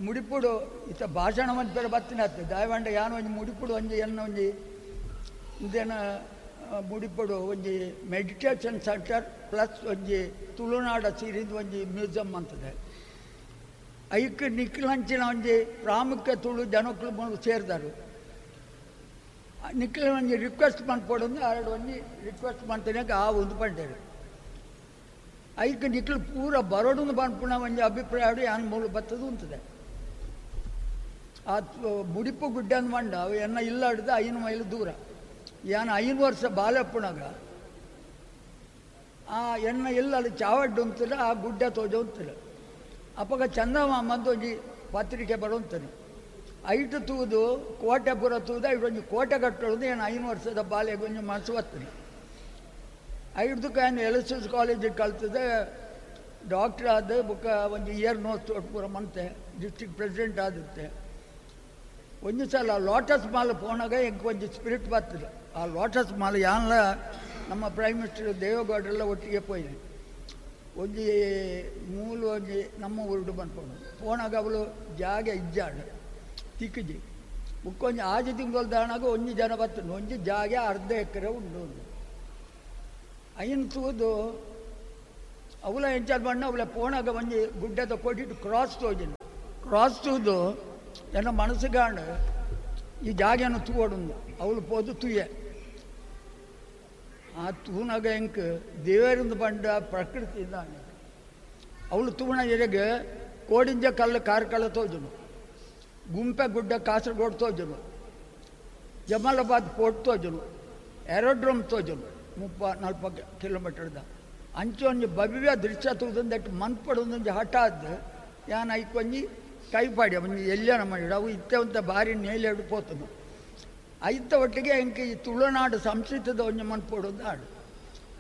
ಮುಡಿಪುಡು ಇತ್ತ ಭಾಷಣ ಒಂಜಿ ಬೇರೆ ಬತ್ತಿನ ಆತು ದಾಯವಾಂಡ ಯಾನು ಒಂಜಿ ಮುಡಿಪುಡು ಒಂಜಿ ಎನ್ನ ಒಂಜಿ ಇದೇನ ಮುಡಿಪುಡು ಒಂಜಿ ಮೆಡಿಟೇಷನ್ ಸೆಂಟರ್ ಪ್ಲಸ್ ಒಂಜಿ ತುಳುನಾಡ ಸೀರಿದ ಒಂಜಿ ಮ್ಯೂಸಿಯಂ ಅಂತದೆ. ಐಕ್ ನಿಕ್ಲಂಚಿನ ಒಂಜಿ ಪ್ರಾಮುಖ್ಯ ತುಳು ಜನಕ್ಕಳು ಮೂಲು ಸೇರಿದರು. ನಿಕ್ಲ ಒಂಜಿ ರಿಕ್ವೆಸ್ಟ್ ಮನ್ಪೊಡು ಆರಡು ಒಂಜಿ ರಿಕ್ವೆಸ್ಟ್ ಮಾಡ್ತೇನೆ ಆ ಒಂದು ಪಂಡೇರು. ಐಕ್ ನಿಕ್ಲು ಪೂರ ಬರೋಡು ಪನ್ಪುನ ಒಂಜಿ ಅಭಿಪ್ರಾಯ ಯಾನ್ ಮೂಲು ಬತ್ತದು ಉಂತದೆ. ಆ ಮುಡಿಪು ಗುಡ್ಡೆ ಅಂದ್ ಮಂಡ ಅವು ಎನ್ನ ಇಲ್ಲ ಹಿಡ್ದು ಐನು ಮೈಲು ದೂರ. ಯಾನ್ ಐನು ವರ್ಷ ಬಾಲಪ್ಪನಾಗ ಆ ಎಣ್ಣ ಇಲ್ಲ ಅಲ್ಲಿ ಚಾವಡ್ಡು ಉಂತಿಲ್ಲ ಆ ಗುಡ್ಡೆ ತೋಜ ಉಂತಿಲ್ಲ. ಅಪ್ಪಗ ಚಂದಮಾಮ ಅಂತ ಒಂಜಿ ಪತ್ರಿಕೆ ಬರುವಂತಾನೆ. ಐಟು ತೂದು ಕೋಟೆ ಪೂರ ತೂದು ಐಟು ಒಂಜಿ ಕೋಟೆ ಕಟ್ಟೋದು ಏನು ಐನು ವರ್ಷದ ಬಾಲ್ಯಗೆ ಒಂಜಿ ಮನಸ್ಸು ಬರ್ತದೆ. ಐಡ್ದಕ್ಕೆ ಏನು ಎಲ್ ಎಸ್ ಎಸ್ ಕಾಲೇಜಿಗೆ ಕಲ್ತದೆ ಡಾಕ್ಟ್ರ್ ಆದ ಬುಕ್ಕ ಒಂಜಿ ಇಯರ್ ನೋಸ್ ಪೂರ ಮಂತೆ ಡಿಸ್ಟ್ರಿಕ್ಟ್ ಪ್ರೆಸಿಡೆಂಟ್ ಆಗುತ್ತೆ. ಒಂಜಿ ಸಲ ಲೋಟಸ್ ಮಾಲ್ ಪೋನಾಗ ಎಂಕ್ ಒಂಜಿ ಸ್ಪಿರಿಟ್ ಬರ್ತದೆ. ಆ ಲೋಟಸ್ ಮಾಲ್ ಯಾನ್ಲ ನಮ್ಮ ಪ್ರೈಮ್ ಮಿನಿಸ್ಟರ್ ದೇವೇಗೌಡರೆಲ್ಲ ಒಟ್ಟಿಗೆ ಪೋಯಿನಿ. ಒಂಜಿ ಮೂಲು ಒಂಜಿ ನಮ್ಮ ಊರುಡು ಬಂದ್ಕೊಂಡು ಪೋನಾಗ ಅವಳು ಜಾಗ ಇಜ್ಜಾಡ ತಿಕ್ಕಿಜಿ ಬುಕ್ಕೊಂಜಿ ಆಜಿ ತಿಂಗಳು ದಾಣಾಗ ಒಂಜಿ ಜನ ಬರ್ತದೆ. ಒಂಜಿ ಜಾಗ ಅರ್ಧ ಎಕರೆ ಉಂಡು ಒಂದು ಐನ್ ತೂದು ಅವಲ ಎಂಚಾದ ಬಣ್ಣ ಅವಳ ಪೋಣಾಗ ಒಂಜಿ ಗುಡ್ಡದ ಕೊಟ್ಟಿಟ್ಟು ಕ್ರಾಸ್ ತೋಜಿನ ಕ್ರಾಸ್ ತೂದು ಎನ್ನ ಮನಸ್ಸುಗಾಂಡು ಈ ಜಾಗೆಯನ್ನು ತೂವಡುಂದು ಅವಳು ಪೋದು ತೂಯೆ. ಆ ತೂನಾಗ ಎಂಕ್ ದೇವರಿಂದ ಬಂಡ ಪ್ರಕೃತಿ ಇದ್ದಾನೆ. ಅವಳು ತೂಣ ಎರೆಗೆ ಕೋಡಿಂಜ ಕಲ್ಲು ಕಾರ್ಕಳ ತೋಜನು, ಗುಂಪೆ ಗುಡ್ಡ ಕಾಸರಗೋಡು ತೋಜನು, ಜಮಾಲಾಬಾದ್ ಪೋರ್ಟ್ ತೋಜನು, ಏರೋಡ್ರೋಮ್ ತೋಜನು, ಮುಪ್ಪ ನಲ್ಪ ಕಿಲೋಮೀಟರ್ದ ಅಂಚೆ ಒಂಜಿ ಭವ್ಯ ದೃಶ್ಯ ತೂದಂದಟ್ಟು ಮನ್ಪಡೊಂದೊಂಜಿ ಹಠಾದ್ ಯಾನ್ ಐಕೊಂಜಿ ಕೈಪಾಡಿ ಒಂಜಿ ಎಲ್ಲನ ಮಾಡಿ ಅವು ಇತ್ತವಂತ ಭಾರಿ ನೇಲೆಡು ಪೋತನು. ಐತ ಒಟ್ಟಿಗೆ ಎಂಕ್ ಈ ತುಳುನಾಡು ಸಂಸ್ಕೃತದ ಒಂಜಿ ಮನ್ಪೊಡೊಂದು ಹಾಡು.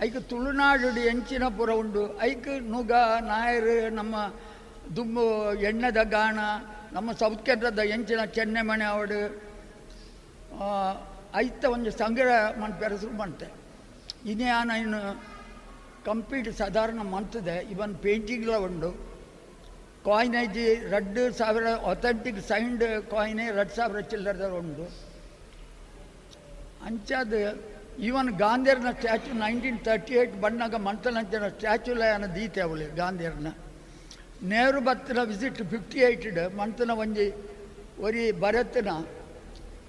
ಐಕ್ ತುಳುನಾಡು ಎಂಚಿನ ಪುರ ಉಂಡು, ಐಕ್ ನುಗ ನಾಯರು ನಮ್ಮ ದುಂಬು ಎಣ್ಣೆದ ಗಾಣ, ನಮ್ಮ ಸೌತ್ ಕೇಂದ್ರದ ಎಂಚಿನ ಚೆನ್ನೆಮಣೆ ಅವಡು ಐತ ಒಂಜಿ ಸಂಗ್ರಹ ಮನ್ಪೆರ ಶುರು ಮಂತೆ. ಇನ್ಯಾನ ಇನ್ನು ಕಂಪ್ಲೀಟ್ ಸಾಧಾರಣ ಮಂತದೆ ಇವನ್ ಪೇಂಟಿಂಗ್ಲ ಉಂಡು. ಕಾಯಿನೇಜ್ ರಡ್ಡು ಸಾವಿರ ಅಥೆಂಟಿಕ್ ಸೈನ್ಡ್ ಕಾಯಿನೇ ರಡ್ಡು ಸಾವಿರ ಚಿಲ್ಲರ್ದ ಉಂಡು. ಅಂಚಾದ ಈವನ್ ಗಾಂಧಿಯರ್ನ ಸ್ಟ್ಯಾಚು ನೈನ್ಟೀನ್ ತರ್ಟಿ ಏಯ್ಟ್ ಬಣ್ಣಾಗ ಮಂತನಂಚಿನ ಸ್ಟ್ಯಾಚುಲ ದೀತೆ ಅವಳು ಗಾಂಧಿಯರ್ನ. ನೆಹರು ಬತ್ತಿನ ವಿಸಿಟ್ ಫಿಫ್ಟಿ ಏಯ್ಟ್ ಮಂತನ ಒಂಜಿ ಒರಿ ಭರತ್ನ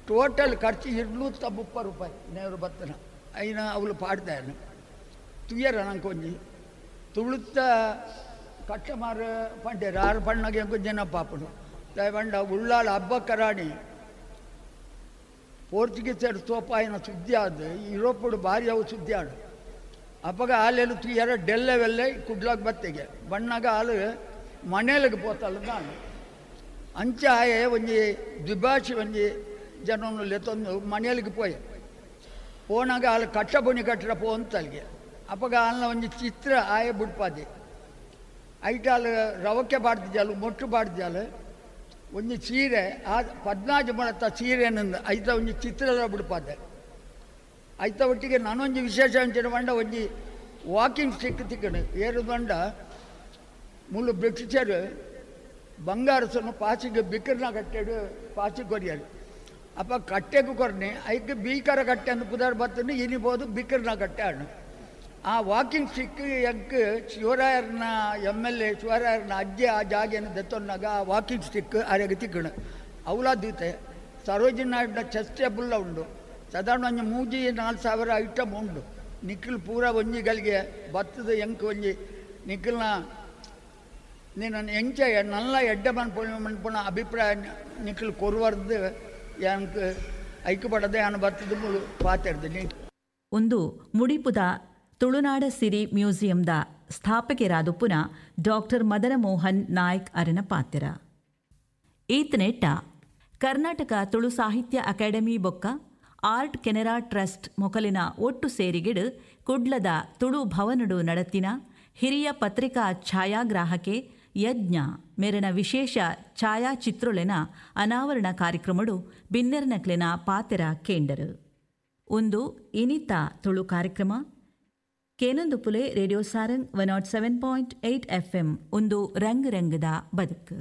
ಟೋಟಲ್ ಖರ್ಚು ಇರ್ನೂತ್ತ ಮುಪ್ಪ ರೂಪಾಯಿ ನೆಹರು ಬತ್ತಿನ ಐನ ಅವಳು ಪಾಡ್ದಾಯನ ತುಯ್ಯರ ನಂಗೆ ಒಂಜಿ ತುಳುತ್ತ ಕಟ್ಟಮಾರು ಪಂಡೇರು ಆರು ಪಣ್ಣಗೆ ಎಂಕು ಜನ ಪಾಪನು ದಯವಂಡ ಉಳ್ಳಾಳ ಹಬ್ಬಕ್ಕರಾಣಿ ಪೋರ್ಚುಗೀಸರು ತೋಪಾಯಿನ ಸುದ್ದಿ ಆದ ಯುರೋಪುಡು ಭಾರಿ ಅವು ಸುದ್ದಿ ಆಡು. ಅಪ್ಪಗ ಹಾಲೆಲ್ಲ ತುಯ್ಯರ ಡೆಲ್ಲೆವೆಲ್ಲ ಕುಡ್ಲಾಗ ಬತ್ತಿಗೆ ಬಣ್ಣಾಗ ಹಾಲು ಮನೇಲಿಗೆ ಪೋತಲ್ಲ ನಾನು ಅಂಚೆ ಆಯೆ ಒಂಜಿ ದ್ವಿಭಾಷೆ ಒಂಜಿ ಜನವನ್ನು ಲೆತ್ತೊಂದು ಮನೇಲಿಗೆ ಪೋಯೆ. ಪೋನಾಗ ಹಾಲು ಕಟ್ಟ ಬುಣಿ ಕಟ್ಟರ ಪೋ ಅಂತಲ್ಲಿಗೆ ಅಪ್ಪಗ ಹಾಲಿನ ಒಂಜಿ ಚಿತ್ರ ಆಯೆ ಬುಡ್ಪಾದೆ. ಐಟಾಲ್ ರವಕ್ಕೆ ಬಾಡ್ದಿದ್ದಾಲು ಮೊಟ್ಟು ಬಾಡ್ದಿದ್ದಾಲು ಒಂಜಿ ಸೀರೆ ಆ ಪದ್ನಾಜು ಮೊಳತ್ತ ಸೀರೆನಿಂದ ಐತ ಒಂಜಿ ಚಿತ್ರದ ಬಿಡ್ಪಾದೆ. ಐತ ಒಟ್ಟಿಗೆ ನಾನೊಂಜಿ ವಿಶೇಷ ಅಂಚಿನ ಬಂಡ ಒಂಜಿ ವಾಕಿಂಗ್ ಸ್ಟಿಕ್ ತಿಕ್ಕಣು ಏರು ಬಂಡ ಮುಳ್ಳು ಬ್ರಿಟಿಷರು ಬಂಗಾರಸನ್ನು ಪಾಸಿಗೆ ಬಿಕ್ಕರ್ನ ಕಟ್ಟೆಡು ಪಾಸಿಗೆ ಕೊರಿಯರು. ಅಪ್ಪ ಕಟ್ಟೆಗೂ ಕೊರ್ನೆ ಐಕ್ ಬೀಕರ ಕಟ್ಟೆ ಅಂದು ಪುದಾರ್ ಬತ್ತನ್ನು ಇನಿಬೋದು ಬಿಕ್ಕರ್ನ ಕಟ್ಟೆ ಅಣ್ಣು. ಆ ವಾಕಿಂಗ್ ಸ್ಟಿಕ್ ಎಂಕ್ ಶಿವರಾಯರ್ನ ಎಮ್ ಎಲ್ ಎ ಶಿವರಾಯರ್ನ ಅಜ್ಜಿ ಆ ಜಾಗೆಯನ್ನು ದೆತ್ತೊನ್ನಾಗ ಆ ವಾಕಿಂಗ್ ಸ್ಟಿಕ್ ಆರೆಗೆ ತಿಕ್ಕಣು ಅವಲ ದೀತೆ. ಸರೋಜಿನಿ ನಾಯ್ಡುನ ಚೆಸ್ ಟೇಬುಲ್ಲ ಉಂಡು ಸಾಧಾರಣ ಒಂಜಿ ಮೂಜಿ ನಾಲ್ಕು ಸಾವಿರ ಐಟಮ್ ಉಂಡು. ನಿಖಿಲ್ ಪೂರ ಒಂಜಿ ಗಲಿಗೆ ಬತ್ತದ ಎಂಕ್ ಒಂಜಿ ನಿಖಿಲ್ನ ನೀನು ಎಂಚ ನಲ್ಲ ಎಡ್ಡೆ ಮನ್ಪುಣ ಮನ್ಪುಣ ಅಭಿಪ್ರಾಯ ನಿಖಿಲ್ ಕೊರುವರ್ದು ಎಂಕ್ ಐಕ್ಯ ಪಡದೆ ನಾನು ಬತ್ತದ ಮುಳು ಪಾತಿರ್ದು. ಒಂದು ಮುಡಿಪುದ ತುಳುನಾಡ ಸಿರಿ ಮ್ಯೂಸಿಯಂದ ಸ್ಥಾಪಕರಾದುಪ್ಪುನ ಡಾಕ್ಟರ್ ಮದನ ಮೋಹನ್ ನಾಯ್ಕ್ ಅರನ ಪಾತ್ರ. ಈತನೆಟ್ಟ ಕರ್ನಾಟಕ ತುಳು ಸಾಹಿತ್ಯ ಅಕಾಡೆಮಿ ಬೊಕ್ಕ ಆರ್ಟ್ ಕೆನರಾ ಟ್ರಸ್ಟ್ ಮೊಕಲಿನ ಒಟ್ಟು ಸೇರಿಗಿಡು ಕುಡ್ಲದ ತುಳು ಭವನಡು ನಡತಿನ ಹಿರಿಯ ಪತ್ರಿಕಾ ಛಾಯಾಗ್ರಾಹಕೆ ಯಜ್ಞ ಮೇರನ ವಿಶೇಷ ಛಾಯಾಚಿತ್ರುಲೆನ ಅನಾವರಣ ಕಾರ್ಯಕ್ರಮಡು ಬಿನ್ನೆರ್ನಕ್ಲೆನ ಪಾತೆರ ಕೇಂಡರು. ಒಂದು ಇನಿತ ತುಳು ಕಾರ್ಯಕ್ರಮ ಕೇನಂದುಪುಲೆ radio Sarang one nought seven point eight F M ಒಂದು ರಂಗ್ ರಂಗದ ಬದುಕು.